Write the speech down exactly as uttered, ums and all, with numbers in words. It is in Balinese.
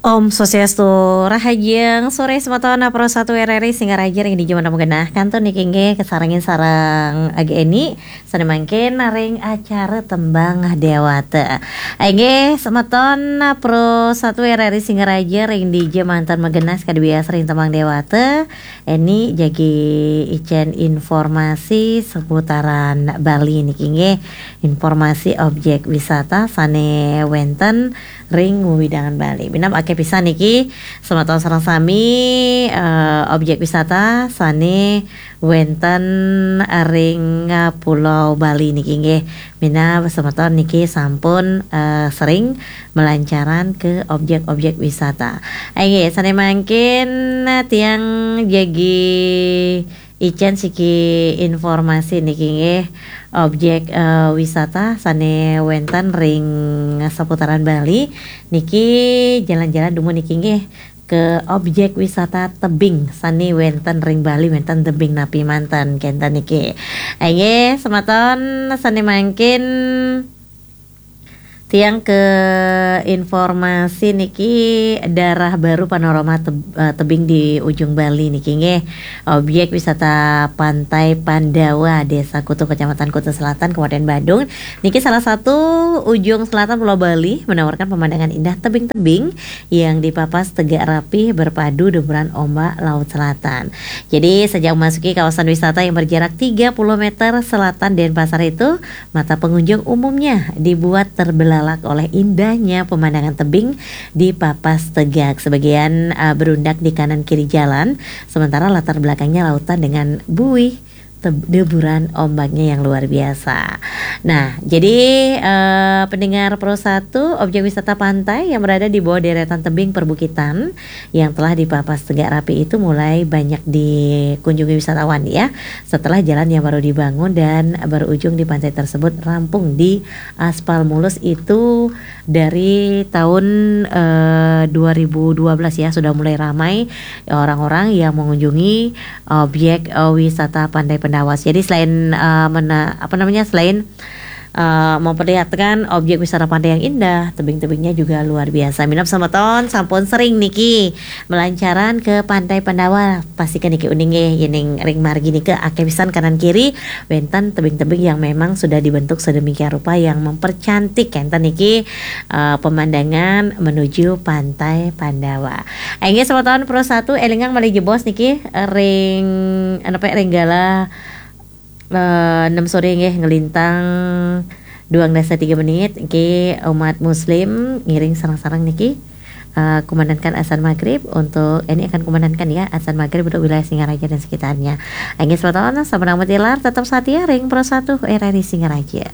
Om Swastiastu, rahajeng sore semeton Pro satu R R I Singaraja ring dija manten magenah. Kantun niki inggih kasarengin sareng Agi Eni, sane mangkin ring acara Tembang Dewata. Inggih semeton Pro satu R R I Singaraja ring dija manten magenah, sakadi biasa ring Tembang Dewata. Eni jagi icen informasi seputaran Bali niki inggih, informasi objek wisata sane wenten ring wewidangan Bali. Minab akeh pisan niki semeton sareng sami, eh, objek wisata sane wenten ring, eh, Pulau Bali niki inggih. Minab semeton niki sampun, eh, sering melancaran ke objek-objek wisata. Inggih, sane mangkin, eh, tiang jagi icen siki informasi niki inggih, objek, eh, wisata sane wenten ring seputaran Bali niki, jalan-jalan dumun niki inggih ke objek wisata tebing sane wenten ring Bali, wenten tebing napi manten kenten niki. Inggih, semeton sane mangkin tiang ke informasi niki, daerah baru panorama teb-, eh, tebing di ujung Bali niki inggih, objek wisata Pantai Pandawa, Desa Kutu, Kecamatan Kuta Selatan, Kabupaten Badung. Niki salah satu ujung selatan Pulau Bali, menawarkan pemandangan indah tebing-tebing yang dipapas tegak rapi berpadu deburan ombak Laut Selatan. Jadi, sejak memasuki kawasan wisata yang berjarak tiga puluh meter selatan Denpasar itu, mata pengunjung umumnya dibuat terbelalak oleh indahnya pemandangan tebing dipapas tegak. Sebagian, uh, berundak di kanan kiri jalan, sementara latar belakangnya lautan dengan buih teb-, deburan ombaknya yang luar biasa. Nah, jadi, eh, pendengar Pro satu, objek wisata pantai yang berada di bawah deretan tebing perbukitan yang telah dipapas tegak rapi itu mulai banyak dikunjungi wisatawan, ya, setelah jalan yang baru dibangun dan berujung di pantai tersebut rampung di aspal mulus itu dari tahun, eh, dua ribu dua belas, ya, sudah mulai ramai orang-orang yang mengunjungi objek, eh, wisata Pantai Pendawas. Jadi selain, eh, mena-, apa namanya, selain, eh, memperlihatkan objek wisata pantai yang indah, tebing-tebingnya juga luar biasa. Minab semeton sampun sering niki melancaran ke Pantai Pendawas, pasti ke niki uning nggih, yening ring margi nika akeh pisan kanan kiri wenten tebing-tebing yang memang sudah dibentuk sedemikian rupa yang mempercantik enten niki, eh, pemandangan menuju Pantai Pandawa. Inggih semeton Pro satu, elingang malih jebos niki, eh, ring, eh, napi, ring galah, eh, enam sore nggih, nglintang duang dasa tiga menit niki, umat muslim ngiring sareng-sareng niki, eh, kumandangkan azan maghrib untuk, ini akan kumandangkan, ya, azan maghrib untuk wilayah Singaraja dan sekitarnya. Inggih semeton, sampun ampun tilar, tetap setia ring Pro satu R R I Singaraja.